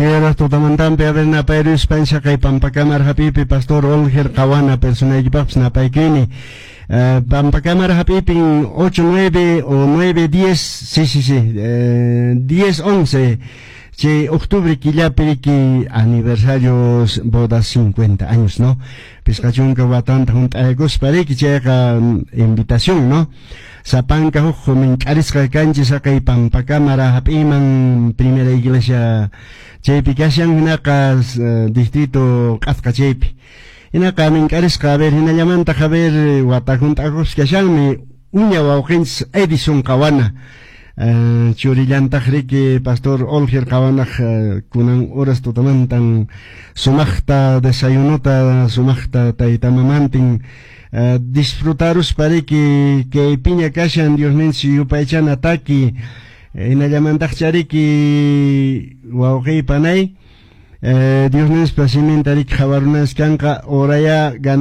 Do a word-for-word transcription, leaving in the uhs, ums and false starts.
Tierra tutamantampi a ver napayrispan shaqay Pampakamara hap'ipi Pastor Olger Qawana personaykipaqpis napaykini. Uh, Pampakamara hap'ipin ocho, nueve o nueve, diez, sí, sí, sí, eh, diez, once, chay octubre killapi riki aniversario bodas cincuenta años, ¿no? Pisqa chunka watanta hunt'aykuspa riki chayqa invitación, ¿no? Sapanka huk mink'arisqa kanchis haqay Pampakamara hap'iman primera iglesia chaypi kashan hinaqa distrito Q'asqa chaypi. Hinaqa mink'arisqa a ver hinallamantaq a ver wata hunt'akusqa kashanmi uña wawqinchis Edison Qawana. Uh, churillantaq riki Pastor Olger Qawanaq uh, kunan horas tutamantan sumaqta desayunota sumaqta tayta mamantin uh, disfrutaruspa riki kay piña kashan Diosninchis yupaychana taki hinallamantaq chariki wawqiy panay uh, Diosninchis siminta riki qhawarunas kanqa oraya gana